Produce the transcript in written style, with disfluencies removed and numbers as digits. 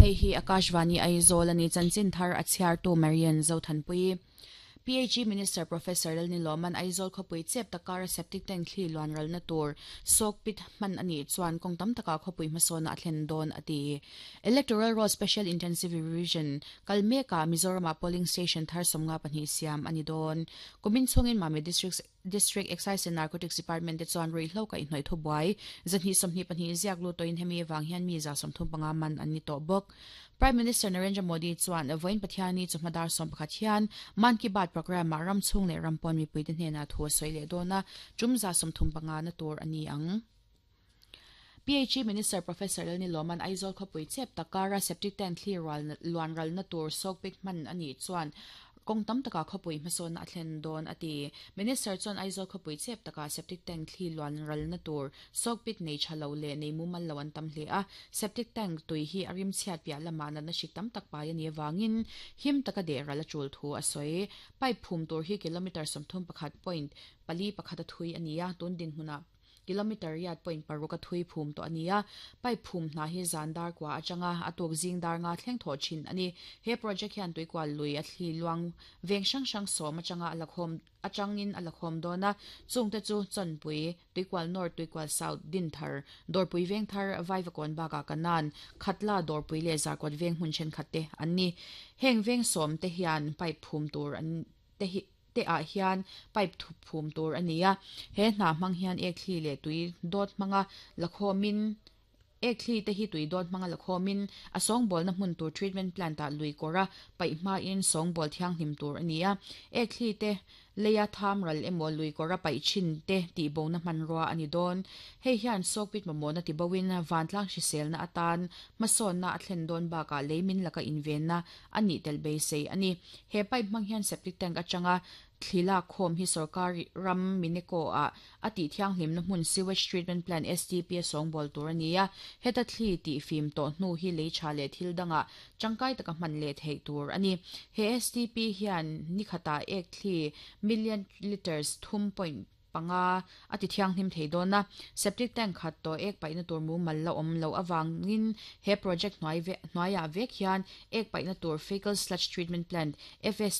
Hei hi Akashvani Aizawl a ni, chanchin thar a chhiartu Marian Zothanpui. PHE Minister Professor Lalnilawman Aizawl khawpui chep takara septic tank thli luan ralna tur soak pit hman a nih chuan kawng tam takah khawpui hmasawna a thlen dawn a ti. Electoral Roll Special Intensive Revision kal mekah Mizoramah polling station thar 52 siam a ni dawn. Kumin chhungin Mami District District Excise and Narcotics Department te chuan ruihhlo kaihhnawih thubuai 224 ziak lut tawhin hemi avang hian mi 35 man an ni tawh bawk. Prime Minister Narendra Modi chuan vawiin Pathiani chawhma dar 11 hian Mann Ki Baat programme-ah ram chhung leh ram pawn mipuite hnenah thu a sawi leh dawn a, tum 35 na tur a ni ang. PHE Minister Professor Lalnilawman Aizawl khawpui chep tak kara septic tank thli rual luan ralna tur sawkpit hman a nih chuan kawng tam takah khawpui hmasawnna a thlen dawn a ti. Minister chuan Aizawl khawpui chep takah septic tank thli luan ralna tur sawkpit nei tha lo leh nei mumal lo an tam hle a, septic tank tui hi a rimchhiat piah lamah natna hrik tam tak pai a nih avangin him taka deh ral a tul thu a sawi. Pipe phum tur hi kilometre 31.41 a thui a ni a, tun dinhmunah Kilometre riat point paruk a thui phum tawh a ni a, pipe phum hna hi zan dar kua atanga a tuk zing dar nga thleng thawh thin a ni. He project hian tuikual lui a thli luang veng hrang hrang sawm atanga a lakhawm atangin a lakhawm dawn a, chungte chu Chawnpui, Tuikual North, Tuikual South, Dinthar, Dawrpui Vengthar, Vaivakawn bakah Kanan, Khatla, Dawrpui leh Zarkawt veng hmun thenkhat te an ni. Heng veng sawm te hian pipe phum tur an te hi te ah hian pipe thup phum tur a ni a, he hna hmang hian ek thli leh tui dawt hmanga la khawmin ek thli te hi tui dawt hmanga la khawmin a sawngbawlna hmun tur treatment plant ah lui kawra paih hmain sawngbawl thianghlim tur a ni a, ek thli te leia tham ral emaw lui kawra paih thin te tihbona hmanrua a ni dawn. Hei hian sawkpit mamawhna tiboin vantlang hriselna atan hmasawnna a thlen dawn bakah lei min laka invenna a nih tel beisei a ni. He pipe hmang hian septic tank atanga thli lak khawm hi sorkar ram Mineko ah a tih thianghlimna hmun Sewage Treatment Plant, STP, a sawngbawl tur a ni a. Heta thli tih fim tawh hnu hi lei tha leh thil dangah tangkai taka hman leh theih tur a ni. He STP hian ni khatah ek thli million litres thum point panga a ti thianghlim thei dawn a, septic tank khat tawh ek paihna tur mumal la awm loh avangin he project hnuai hnuaiah vek hian ek paihna tur Fecal Sludge Treatment Plant, FSTP.